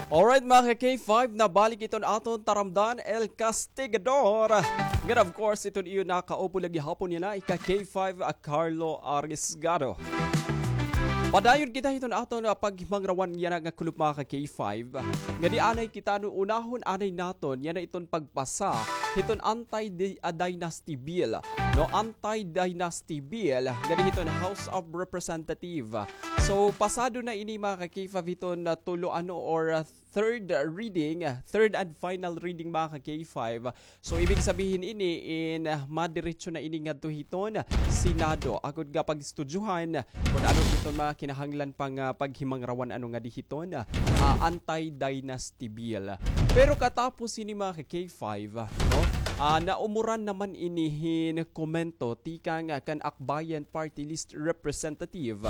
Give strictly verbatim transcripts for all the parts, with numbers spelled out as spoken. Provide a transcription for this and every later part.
Alright, mga ka-K five, nabalik iton aton taramdan, El Castigador. Ngan, of course, iton iyo nakaupo la gihapon yana, ika-K five, a Carlo Arisgado. Padayon kita hiton aton, ah, paghimangrawan yana nga kulop, mga ka-K five. Ngadi anay kita, no, unahon anay naton yana iton pagpasa hiton anti-di-, ah, dynasty bill, no, anti-dynasty bill ngadi hiton House of Representative. So, pasado na ini, mga ka-K five, hiton, ah, tulo ano or, ah, third reading, ah, third and final reading, mga ka-K five. So, ibig sabihin ini in, ah, madiretso na ini ngadto hiton Senado. Agod nga pag-istudyohan kon ano hiton mga kinahanglan pa nga paghimangrawan ano ngadi hiton, ah, anti-dynasty bill. Pero katapos ini, mga ka-K five, no? Ah, naumuran naman ini hin komento tikang, ah, kan Akbayan Party List Representative.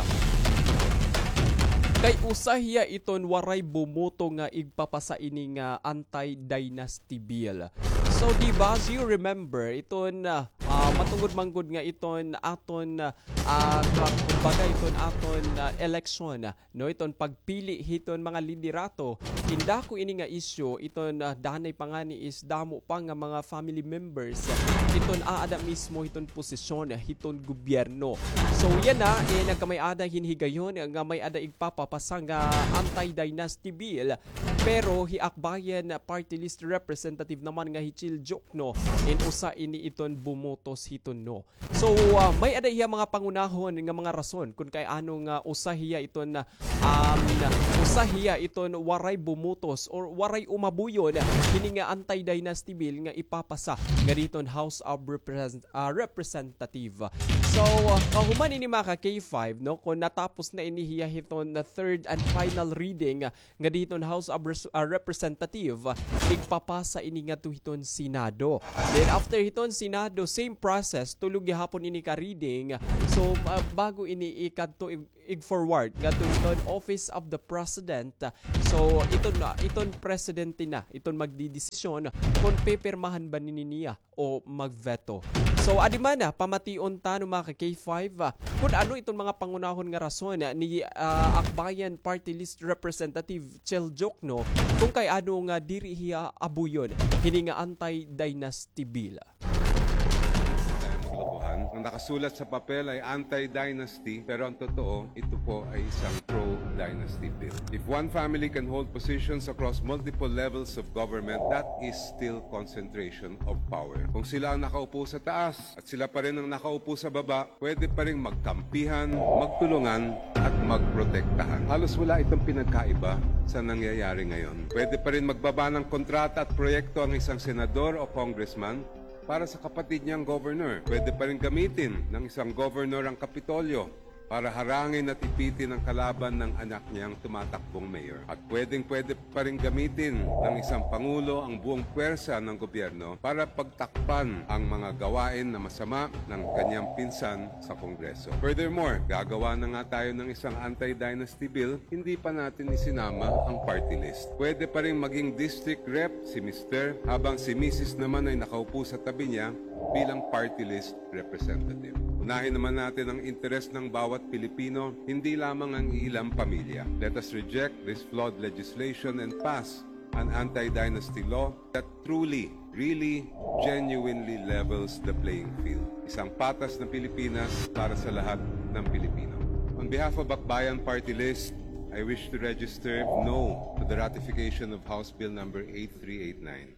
Kay usa hiya iton waray bumoto nga igpapasa ini nga anti-dynasty bill. So, di ba, as you remember, iton, ah, ah, matungod man gud nga iton aton, ah, ka-, kumbaga, iton aton, ah, eleksyon, no, iton pagpili hiton mga liderato, indako ini nga isyu, iton, ah, danay pa ngani is damo pa nga mga family members, iton aada mismo hiton posisyon hiton gobyerno. So, yana, eh, nagkamay-ada hin higayon nga may-ada igpapapasa nga anti-dynasty bill, pero hi Akbayan Party List Representative naman nga hi Chel Diokno, in usa ini iton bumotos hiton no. So, ah, may-ada hiya mga pangunahon nga mga rason kon kay ano nga usa hiya iton, um, usa hiya iton waray bumotos or waray umabuyon hini nga anti-dynasty bill nga ipapasa ngadi hiton House of Represent-, ah, Representative. So, ah, kahuman ini, mga ka-K five, no, kon natapos na ini hiya hiton third and final reading, ngadi hiton House of Res-, ah, Representative, igpapasa ini ngadto hiton Senado. Then after hiton Senado, same process, tulo gihapon ini ka reading. So, ah, bago ini ikadto ig-, ig-forward ngadto hiton Office of the President. So, iton, ah, iton presidente na, iton magdidesisyon kon pipirmahan ba ini niya o mag-veto. So, adi man, ah, pamation ta, no, mga ka-K five, ah, kon ano iton mga pangunahon nga rason, ah, ni, ah, Akbayan Party List Representative Chel Diokno, kon kay ano nga diri hiya abuyon hini nga anti-dynasty bill. Tayo maglokohan. Ang nakasulat sa papel ay anti-dynasty, pero ang totoo, ito po ay isang pro-dynasty bill. If one family can hold positions across multiple levels of government, that is still concentration of power. Kung sila ang nakaupo sa taas at sila pa rin ang nakaupo sa baba, pwede pa ring magkampihan, magtulungan, at magprotektahan. Halos wala itong pinagkaiba sa nangyayari ngayon. Pwede pa rin magbaba ng kontrata at proyekto ang isang senador o congressman para sa kapatid niyang governor. Pwede pa rin gamitin ng isang governor ang Kapitolyo para harangin at ipitin ang kalaban ng anak niyang tumatakbong mayor. At pwedeng-pwede pa rin gamitin ng isang pangulo ang buong puwersa ng gobyerno para pagtakpan ang mga gawain na masama ng kanyang pinsan sa Kongreso. Furthermore, gagawa na nga tayo ng isang anti-dynasty bill, hindi pa natin isinama ang party list. Pwede pa rin maging district rep si mister, habang si misis naman ay nakaupo sa tabi niya bilang party list representative. Unahin naman natin ang interes ng bawat Pilipino, hindi lamang ang iilang pamilya. Let us reject this flawed legislation and pass an anti-dynasty law that truly, really, genuinely levels the playing field. Isang patas na Pilipinas para sa lahat ng Pilipino. On behalf of Akbayan Party List, I wish to register no to the ratification of House Bill number eight three eight nine.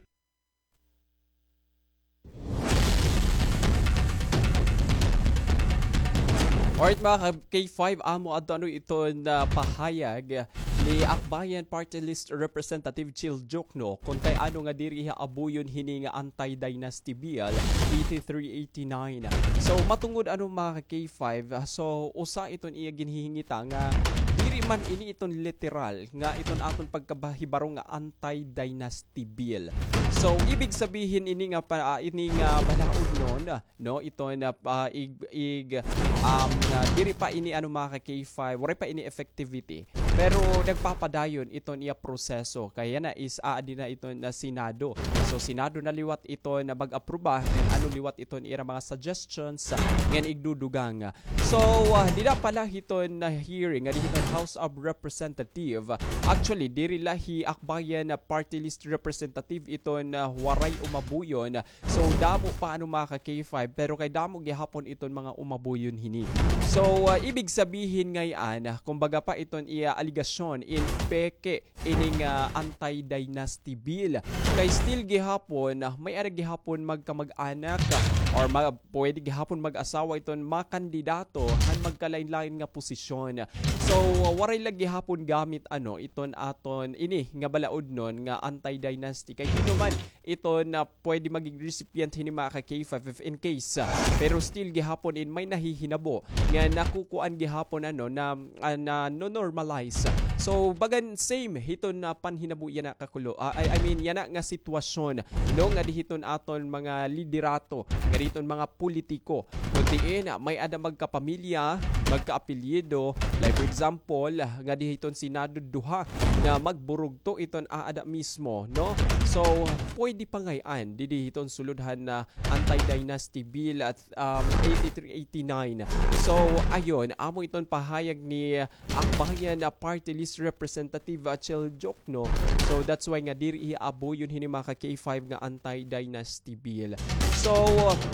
Alright, mga ka-K five, amo adto ano iton, ah, pahayag ni Akbayan Party List Representative Chel Diokno, kon kay ano nga diri hiya abuyon hini nga anti-dynasty bill eighty-three eighty-nine. So, matungod ano, mga ka-K five, ah, so, usa iton iya ginhihingita nga diri man ini iton literal nga iton aton pagkabahibaro nga anti-dynasty bill. So, ibig sabihin ini nga pa, ah, ini nga balaod nun, no, iton, ah, ig-, ig-, um, ah, diri pa ini, ano, mga ka-K five, waray pa ini effectivity. Pero nagpapadayon iton iya proseso. Kay yana is aadi na iton Senado. So, Senado na liwat iton mag-apruba, ngan ano liwat iton ira mga suggestions, ngan igdudugang. So, ah, dida pa la hiton hearing, ngadi hiton House of Representative. Actually, diri la hi Akbayan Party List Representative iton, ah, waray umabuyon. So, damo pa ano mga ka-K five, pero kay damo gihapon iton mga umabuyon hini. So, ah, ibig sabihin ngay-an, ah, kumbaga pa iton iya aligasyon in peke ining, ah, anti-dynasty bill. Kay still gihapon, ah, may-ada gihapon magkamag-anak, ah, or ma-, pwede gihapon mag-asawa iton makandidato han magkalain-lain nga posisyon. So, ah, waray la gihapon gamit ano iton aton ini nga balaodnon nga anti-dynasty. Kay hin-o man iton, ah, pwede maging recipient hini mga ka-K five if in case, ah, pero still gihapon in may nahihinabo nga nakukuan gihapon ano na, ah, nano-normalize. So, bagan same hiton na panhinabo yana kakulo. Ah, I, I mean, yana nga sitwasyon, no, ngadi hiton aton mga liderato, ngadi hiton mga politiko. Kun diin, ah, may-ada magkapamilya, magkaapelyido, like for example, ngadi hiton Senado duha nga magburugto iton aada mismo, no? So, pwede pa ngay-an didi hiton sulod han, ah, anti-dynasty bill at, um, eighty-three eighty-nine. So, ayon, amo iton pahayag ni Akbayan Party List Representative, ah, Chel Diokno. So, that's why nga diri hiya abuyon hini mga ka-K five nga anti-dynasty bill. So,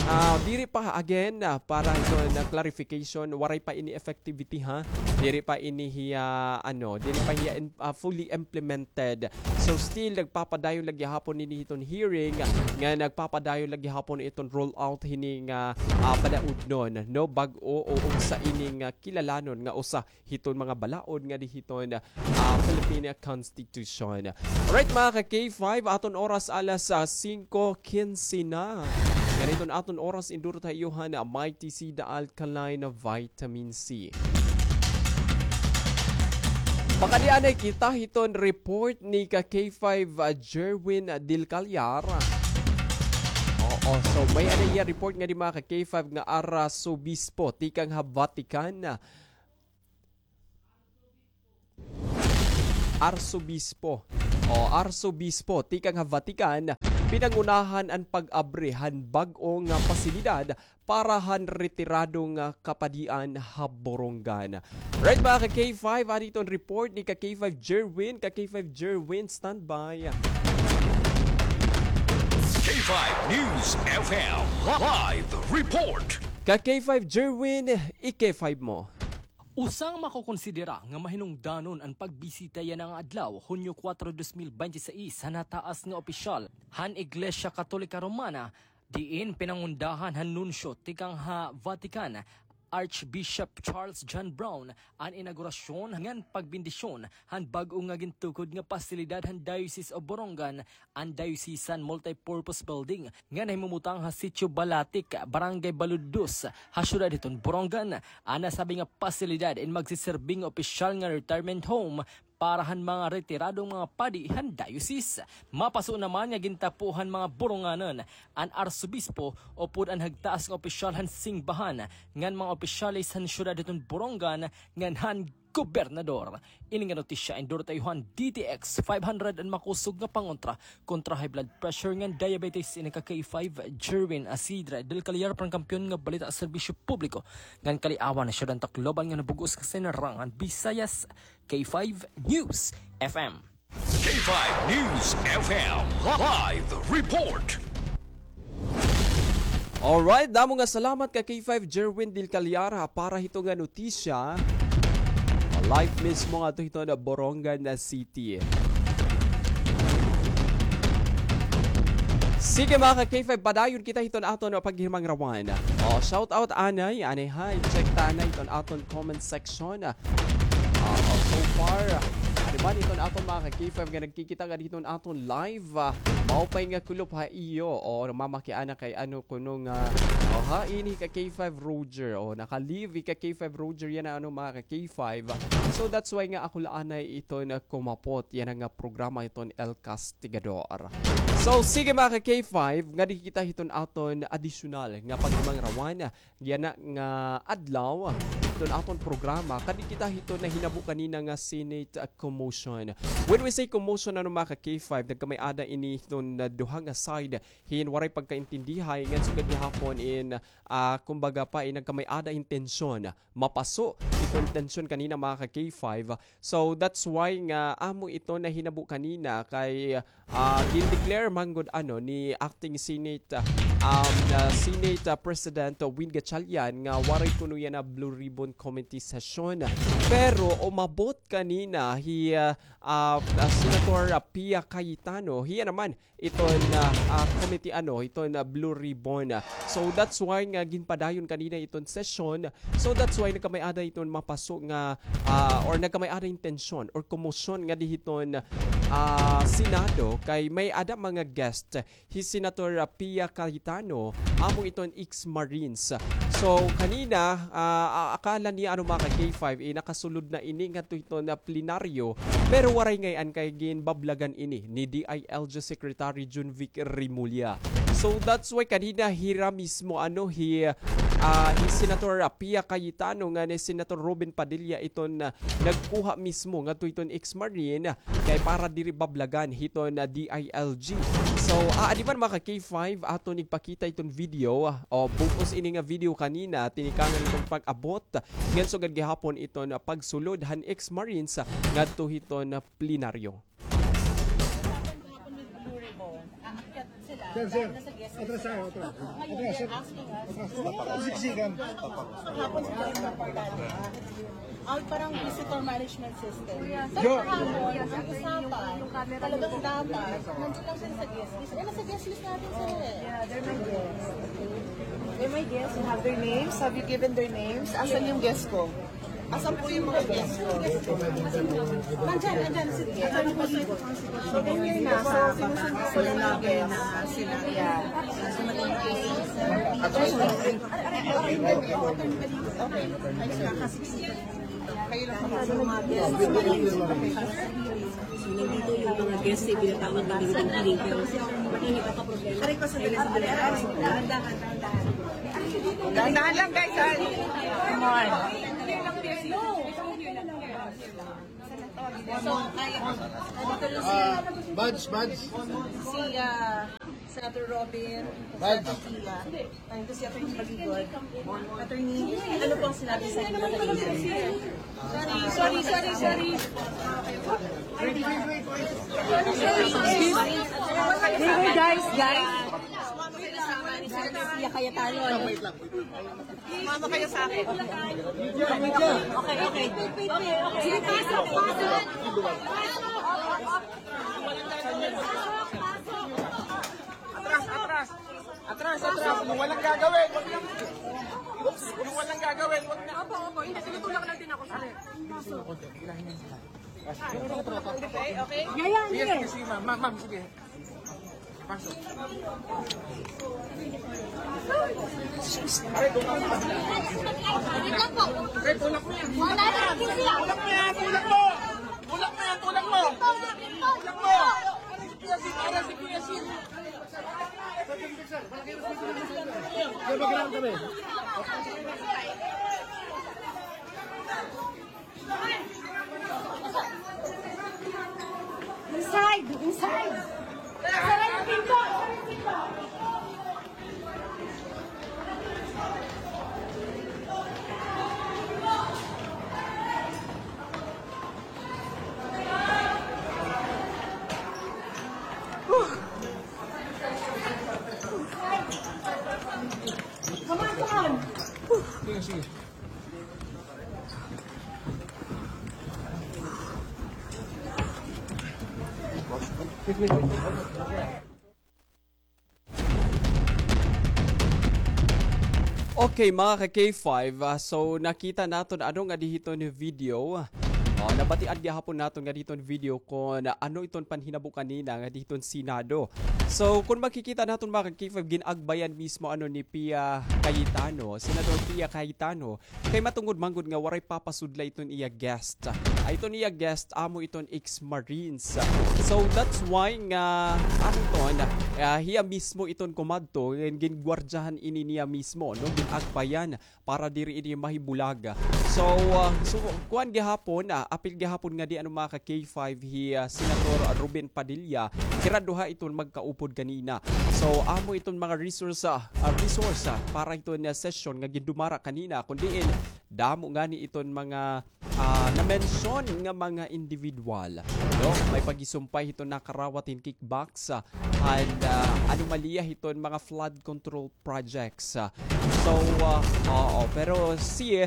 ah, diri pa again, ah, para hiton clarification, waray pa ini effectivity, ha. Diri pa ini hiya, ano, diri pa hiya in-, ah, fully implemented. So, still nagpapadayon la gihapon ini hiton hearing, nga nagpapadayon la gihapon iton roll out hini nga, ah, balaodnon, no, bag-o o unsa ini nga kilalanon nga usa hiton mga balaod ngadi hiton, ah, Philippine Constitution. Alright, mga ka-K five, aton oras alas, ah, singko kinse na. Ngadi hiton aton oras, indurot ha iyo han Mighty C, the alkaline vitamin C. Pakadi anay kita hiton report ni ka-K five, ah, Jerwin Del Callar. Oo, so may-ada hiya report ngadi mga ka-K five nga arsobispo tikang ha Vatican. Arsobispo. O, arsobispo tikang ha Vatican, pinangunahan an pag-abri han bag-o nga pasilidad para han retirado nga kapadian ha Borongan. Right, mga ka-K five, adi iton report ni ka-K five Jerwin. Ka-K five Jerwin, standby. K five News F M live report. Ka-K five Jerwin, i-K five mo. Usa nga makokonsidera nga mahinungdanon an pagbisita yana nga adlaw, Hunyo kuwatro, dos mil bente seis, han nataas nga opisyal han Iglesia Katolika Romana, diin pinangundahan han nunsyo tikang ha Vatican, Archbishop Charles John Brown, an inaugurasyon ngan pagbendisyon han bag-o nga gintukod nga pasilidad han Diocese of Borongan, an Diocesan Multipurpose Building nga nahimumutang ha Sitio Balatic, Barangay Balud dos, ha siyudad hiton Borongan. An nasabi nga pasilidad in magsiserbi nga opisyal nga retirement home para han mga retiradong mga padi han diocese. Mapaso naman nga gintapo han mga Boronganon an arsobispo upod an hagtaas nga opisyal han singbahan ngan mga opisyales han siyudad hiton Borongan ngan han gobernador. Ini nga notisya indurot ha iyo han D T X five hundred, an makusog nga pangontra kontra high blood pressure ngan diabetes. Ini ka K five Jerwin Isidre del Callar para han Kampiyon nga Balita, Serbisyo Publiko ngan Kaliawan ha Siyudad han Tacloban nga nabug-os nga sinarangan Visayas, K five News F M. K five News F M live report. Alright, damo nga salamat ka K five Jerwin Del Callar, ha, para hito nga notisya. Live mismo ngadto hiton Borongan City. Sige, mga ka K five, padayon kita hiton aton paghimangrawan. O, shout out anay, anay, hi, check ta anay hiton aton comment section. Ah, oh, so far, ah, adi man iton aton mga ka K five nga nagkikita ngadi hiton aton live, ah, maupay nga kulop ha iyo. O, mamakiana kay ano kuno nga, oh, Hain hi ka K five Roger. O, naka-leave hi ka K five Roger yana, ano, mga ka K five. So, that's why nga ako la anay iton kumapot yana nga programa iton El Castigador. So, sige, mga ka K five, ngadi kita hiton aton adisyonal nga paghimangrawan yana nga adlaw, hiton aton programa, kadi kita hiton nahinabo kanina nga Senate, ah, commotion. When we say commotion, ano, mga ka K five, nagkamay-ada ini hiton, ah, duha nga side hin waray pagkaintindihay ngan sugad gihapon in, ah, kumbaga pa, in nagkamay-ada hin tensyon. Mapaso iton tensyon kanina, mga ka K five. So, that's why nga amo ito nahinabo kanina kay, ah, gin-declare man gud, ano, ni Acting Senate, ah, um, ah, Senate, ah, President, ah, Win Gatchalian nga waray kuno yana Blue Ribbon Committee session. Pero umabot kanina hi, ah, ah, ah, Senator, ah, Pia Cayetano. Hiya naman iton, ah, ah, committee, ano, iton, ah, Blue Ribbon. So, that's why nga ginpadayon kanina iton session. So, that's why nagkamay-ada iton mapaso nga, ah, or nagkamay-ada hin tensyon or komosyon ngadi hiton, ah, Senado kay may-ada mga guest hi Senator, ah, Pia Cayetano, amo iton ex-Marines. So, kanina, ah, a-, akala niya, ano, mga ka K five, eh, nakasulod na ini ngadto hiton plenaryo, pero waray ngay-an kay ginbablagan ini ni D I L G Secretary Junvic Remulla. So, that's why kanina hira mismo, ano, hi, ah, hi Senator, ah, Pia Cayetano ngan hi Senator Robin Padilla iton, ah, nagkuha mismo ngadto hiton ex-Marine kay para diri bablagan hiton, ah, D I L G. So, ah, adi man, mga ka K five, aton igpakita iton video, ah, o bug-os ini nga video kanina, tinikangan iton pag-abot ngan sugad gihapon iton, ah, pagsulod han ex-Marines, ah, ngadto hiton, ah, plenaryo. Sir, sir. Atras tayo, atras. Ngayon, they're asking us. Atras. Huwag mo akong siksikan. Kahapon sila yung nagpapagdala. Out parang visitor management system. Pero kahapon, ang usapan, talagang dapat, nandun lang sila sa guest list. Eh, nasa guest list natin sila eh. They're my guests. You have their names? Have you given their names? Asan yung guest ko? Asan po yung mga guest ko? Nandyan, nandyan. Sige. Ano po, sir? So, ganyan na. So, sinusunod ko lang namin na sila. Yeah. Okay. Kayo lang po. So, nandito yung mga guests na pinatawag namin ng meeting, pero mainit ang problema. Aray ko, sandali, sandali. Dahan-dahan, dahan-dahan. Dahan-dahan lang, guys, ha? Come on. So, ay, nandito na si, ah, Buds, Buds. Si, ah, Senator Robin, Buds. Senator Pia. Ay, ito si Attorney Baligod. Attorney, ano po ang sinabi sa inyo? Sorry, sorry, sorry, sorry. Excuse me. Hey, guys, guys. Sumama kayo sa akin. Sumama kayo sa akin. Okay, okay. Sige, pasok, pasok. Atras, atras. Atras, atras. Kung walang gagawin, wag na. Kung walang gagawin, wag na. Opo, opo. Hindi, tinutulak lang din ako, sir. Okay, okay. Sige, sige, ma'am. Ma'am, ma'am, sige. Pasok. Aray, tulak mo yan. Tulak mo yan. Tulak mo yan. Tulak mo. Tulak mo yan. Tulak mo. Tulak mo. Aray, si Kuya Sil. Aray, si Kuya Sil. Inside! Inside! Sara yung pinto! Sara yung pinto! Come on, come on! Sige, sige. Okay, mga ka K five, ah, so nakita naton ano nga diri hiton video. Ah, nabatian gihapon naton nga diton video kon ano iton panhinabo kanina nga diton Senado. So, kon makikita naton, mga ka-K five, gin-agbayan mismo, ano, ni Pia Cayetano, Senador Pia Cayetano, kay matungod man gud nga waray papasudla iton iya guest. Ay, iton iya guest, amo iton ex-Marines. So, that's why nga, ano iton, ah, hiya mismo iton kumadto, gin-, gingwardyahan ini niya mismo, no? Gin-agbayan para diri ini mahibulag. So, ah, so, kuan gihapon, ah, apil gihapon nga di, ano, mga ka-K five, hi, ah, Senator Robin Padilla, hira duha iton magkaupod kanina. So, amo iton mga resource, ah, ah, resource, ah, para iton, ah, session nga gindumara kanina, kun diin damo ngani iton mga, ah, na-mention nga mga individual, no? May paghisumpay hiton nakarawat hin kickbacks, ah, and, ah, anomalya hiton mga flood control projects. Ah, so, ah, oo, pero si,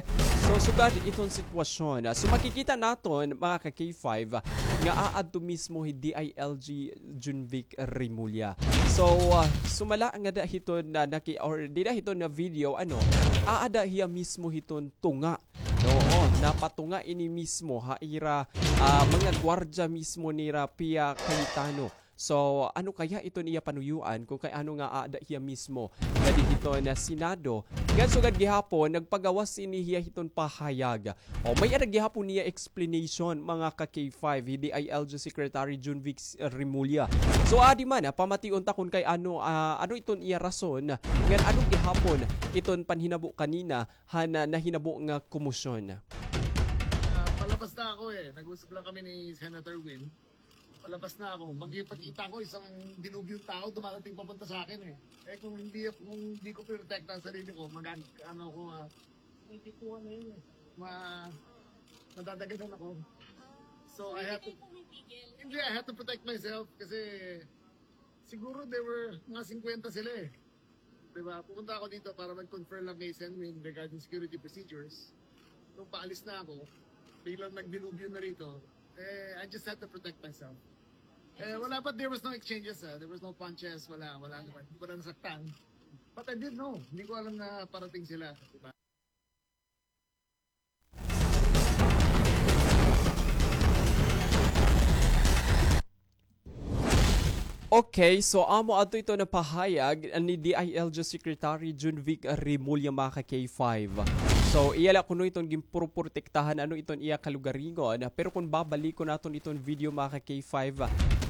so, sugad iton sitwasyon. Ah, so, makikita naton, mga ka-K five, ah, nga aadto mismo hi D I L G Junvic Remulla. So, ah, sumala ngada hiton na naki-, or dida hiton na video, ano, aada hiya mismo hiton tunga. Oo, napatunga ini mismo ha ira, ah, mga gwardya mismo nira Pia Cayetano. So, ano kaya iton iya panuyuan kon kay ano nga aada hiya mismo ngadi hiton Senado? Ngan sugad gihapon, nagpagawas ini hiya hiton pahayag. O, may-ada gihapon niya explanation, mga ka-K five, hi D I L G Secretary Junvic Remulla. So, adi man, ah, pamation ta kon kay ano, ah, ano iton iya rason, ngan ano gihapon iton panhinabo kanina han, ah, nahinabo nga komosyon. Ah, palabas na ako eh. Nag-usap lang kami ni Senator Win. Palabas na ako. Makikipagkita ako, isang dilubyong tao dumarating papunta sa akin eh. Eh, kung hindi, kung hindi ko pinoprotektahan ang sarili ko, mag-, ano ako, ah, hindi ko ano yun eh. Ma-, madadaganan ako. So, I have to, hindi, I have to protect myself kasi siguro there were mga singkwenta sila eh. Di ba? Pumunta ako dito para mag-confer lang kay Sen Win regarding security procedures. Nung paalis na ako, biglang nagdilubyo na rito. Eh, I just had to protect myself. Eh, wala pa, there was no exchanges, ah. There was no punches, wala, wala naman. Hindi ko na nasaktan. But I didn't know. Hindi ko alam na parating sila. Di ba? Okay, so amo adto ito na pahayag ni D I L G Secretary Junvic Remulla, mga ka-K five. So, iya la kuno iton ginpuprotektahan, ano, iton iya kalugaringon. Pero kon babalikon naton iton video, mga ka-K five,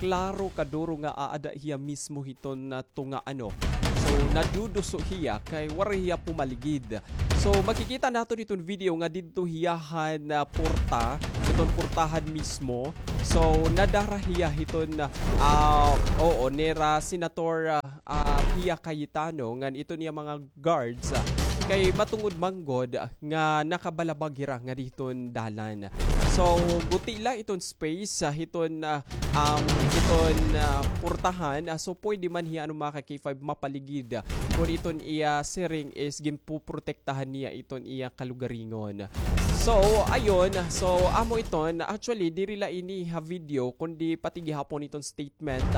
klaro kaduro nga aada hiya mismo hiton, ah, tunga, ano. So, naduduso hiya kay waray hiya pumaligid. So, makikita naton iton video nga didto hiya han, ah, porta, iton portahan mismo. So, nadara hiya hiton, ah, oo, nira Senator, ah, ah, Pia Cayetano, ngan iton iya mga guards, ah, kay matungod man gud nga nakabalabag hira ngadi hiton dalan. So, guti la iton space, ah, hiton, ah, um, hiton, ah, portahan, ah, so pwede man hiya, ano, mga ka-K five, mapaligid, ah, kon iton iya siring is ginpoprotektahan niya iton iya kalugaringon. So, ayun, so amo iton, actually, diri la ini ha video, kundi pati gihapon iton statement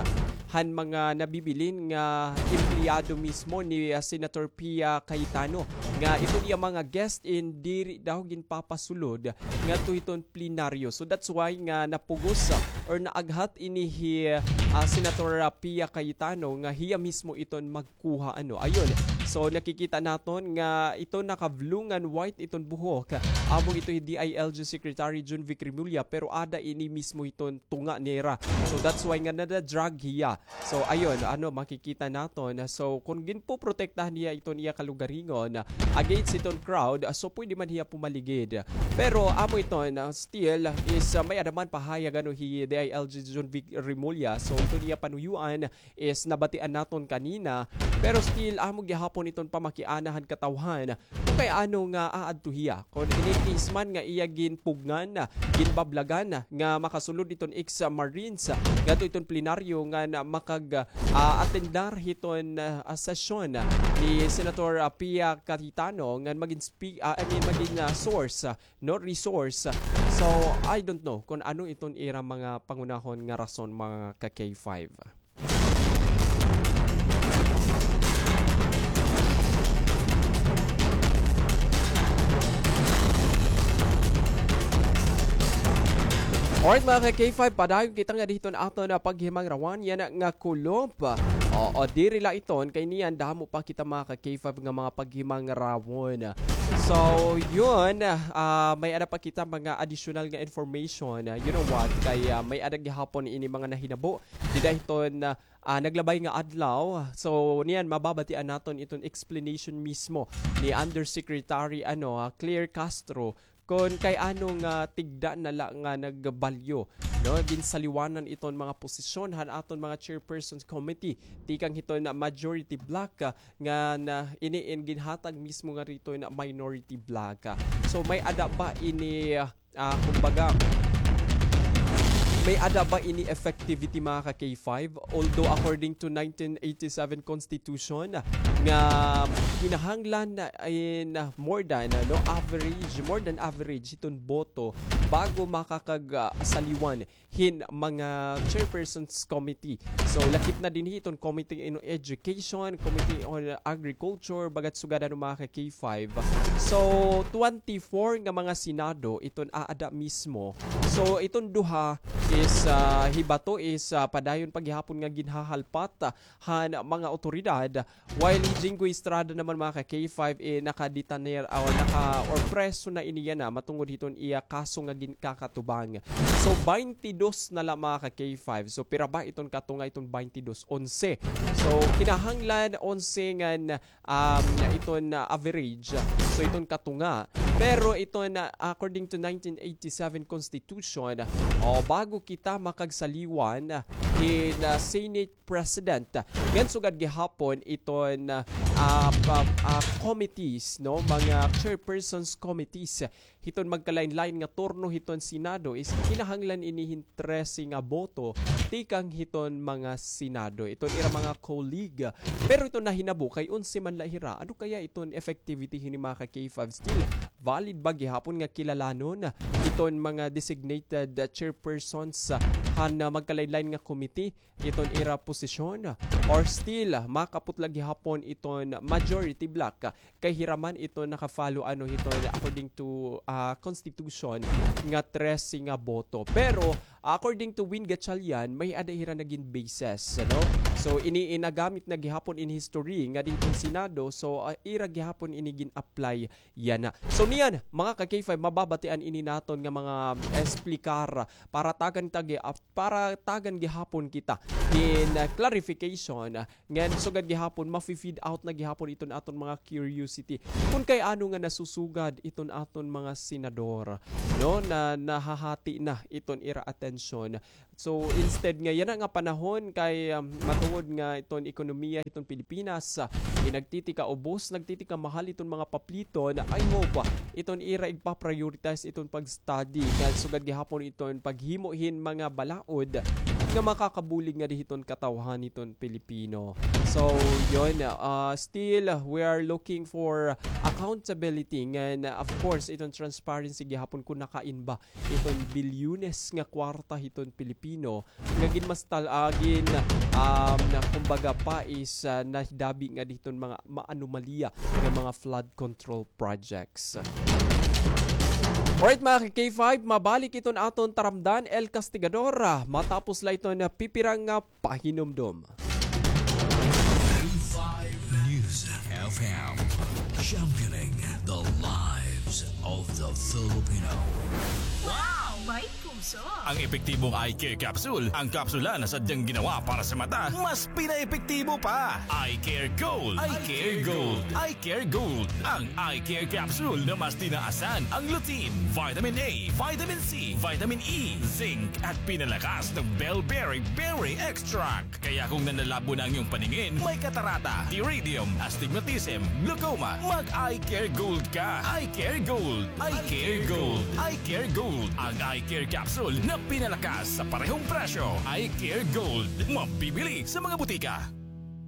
han mga nabibilin nga empleyado mismo ni, ah, Senator Pia Cayetano, nga iton iya mga guest in diri daw ginpapasulod ngadto hiton plenaryo. So that's why nga napugos, ah, or naaghat ini hi, ah, Senator, ah, Pia Cayetano nga hiya mismo iton magkuha, ano. Ayun. So nakikita naton nga iton naka-blue ngan white iton buhok. Amo ito hi D I L G Secretary Junvic Remulla, pero ada ini mismo iton tunga nira. So that's why nga nada-drag hiya. So, ayun, ano, makikita naton. So, kon ginpoprotektahan niya iton iya kalugaringon against iton crowd, so pwede man hiya pumaligid. Pero amo iton, still, is, ah, may-ada man pahayag, ano, hi D I L G Junvic Remulla. So, iton iya panuyuan is nabatian naton kanina. Pero still, amo gihapon iton pamakiana han katawhan. Kay ano nga aadto hiya? Kon in case man nga iya ginpugngan, ginbablagan nga makasulod iton ex-Marines ngadto iton plenaryo ngan makag, ah, atendar hiton, ah, sesyon ni Senator, ah, Pia Cayetano ngan magin spe-, ah, I mean, magin, ah, source, ah, no, resource. So, I don't know kon ano iton ira mga pangunahon nga rason, mga ka-K five. Alright, mga ka-K five, padayon kita nga didto ha aton nga paghimangrawan yana nga kulop. Oo, diri la iton kay niyan damo pa kita, mga ka-K five, nga mga paghimangrawan. So, yun, ah, may-ada pa kita mga additional nga information. Ah, you know what? Kay, ah, may-ada gihapon ini mga nahinabo dida hiton, ah, ah, naglabay nga adlaw. So, niyan mababatian naton iton explanation mismo ni Undersecretary, ano, ah, Claire Castro, kon kay ano nga tigda na la nga nagbalyo, no? Ginsaliwanan iton mga posisyon han aton mga chairpersons committee tikang hiton majority bloc, ah, nga na, ini in ginhatag mismo nga hiton minority bloc. So, may-ada ba ini, ah, ah, kumbaga, may-ada ba ini effectivity, mga ka-K five? Although according to nineteen eighty-seven Constitution, nga kinahanglan na in, ah, more than, ano, average, more than average hiton boto bago makakag, ah, saliwan hin mga chairpersons committee. So, lakip na dinhi iton Committee on Education, Committee on Agriculture, baga't sugad ano, mga ka-K five. So, twenty-four nga mga Senado iton aada mismo. So, iton duha is, ah, hibato is, ah, padayon pa gihapon nga ginhahalpat han mga awtoridad, while hi Jinggoy Estrada naman, mga ka-K five, eh, nakadetainer o naka, or preso na ini yana matungod hiton iya kaso nga ginkakatubang. So, baynte dos na la, mga ka-K five. So, pira ba iton katunga iton baynte dos? Onse. So, kinahanglan onse ngan, um, iton, ah, average. So, iton katunga. Pero iton, ah, according to nineteen eighty-seven Constitution, o, bago kita makagsaliwan hin, ah, Senate President. Ngan sugad gihapon iton, ah, ah, pa-, ah, committees, no, mga chairpersons committees hiton magkalain-lain nga turno hiton Senado is kinahanglan ini hin trese nga boto tikang hiton mga Senado, iton ira mga colleague. Pero iton nahinabo kay onse man la hira. Ano kaya iton effectivity hini, mga ka-K five? Still valid ba gihapon nga kilalanon iton mga designated, ah, chairpersons, ah, han, ah, magkalain-lain nga committee iton ira posisyon, or still makaputla gihapon iton majority bloc kay hira man iton naka-follow, ano, hiton according to, ah, constitution nga trese nga boto? Pero according to Win Gatchalian, may-ada hira nagin basis, ano? So, ini in nagamit na gihapon in history nga didto ha Senado, so, ah, ira gihapon ini gin-apply yana. So, niyan, mga ka-K five, mababatian ini naton nga mga, ah, explicar para tagan ta gi-, ah, para tagan gihapon kita hin, ah, clarification, ah, ngan sugad gihapon mafi-feed out na gihapon iton aton mga curiosity kon kay ano nga nasusugad iton aton mga senador, no, na nahahati na iton ira atensyon. So, instead nga yana nga panahon kay, um, matungod nga iton ekonomiya hiton Pilipinas, ah, nagtitika-ubos, nagtitika-mahal iton mga papliton, I hope, ah, iton ira igpa-prioritize iton pag-study, ngan sugad gihapon iton paghimo hin mga balaod nga makakabulig ngadi hiton katawhan hiton Pilipino. So, yun, ah, still, we are looking for accountability, ngan, ah, of course, iton transparency gihapon kon nakain ba iton bilyones nga kwarta hiton Pilipino nga ginmastal-, ah, gin-, um, na kumbaga pa is, ah, nahidabi ngadi hiton mga maanomalya nga mga flood control projects. Alright, mga ka-K five, mabalik iton aton taramdan, El Castigador, ah, matapos la iton pipira nga pahinumdom. K five News F M, championing the lives of the Filipino. Wow! May puso! Ang epektibong eye care capsule, ang kapsula na sadyang ginawa para sa mata, mas pinaepektibo pa. Eye Care Gold. Eye Care Gold. Eye Care Gold. Ang Eye Care Capsule na mas tinaasan ang lutein, vitamin A, vitamin C, vitamin E, zinc, at pinalakas ng bellberry berry extract. Kaya kung nanlalabo na ang iyong paningin, may katarata, iridium, astigmatism, glaucoma, mag-Eye Care Gold ka. Eye Care Gold. Eye Care Gold. Eye Care Gold. Ang Eye Care Capsule na pinalakas sa parehong presyo. Eye Care Gold. Mabibili sa mga butika.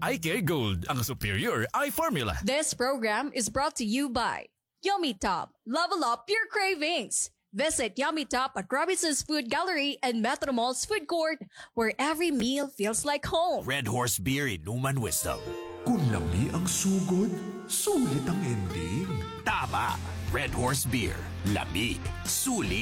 Eye Care Gold, ang superior eye formula. This program is brought to you by Yummy Top. Level up your cravings. Visit Yummy Top at Robinson's Food Gallery and Metro Mall's Food Court, where every meal feels like home. Red Horse Beer, Inuman Wisdom. Kun lami ang sugod, sulit ang ending. Tama! Red Horse Beer. Lami. Sulit.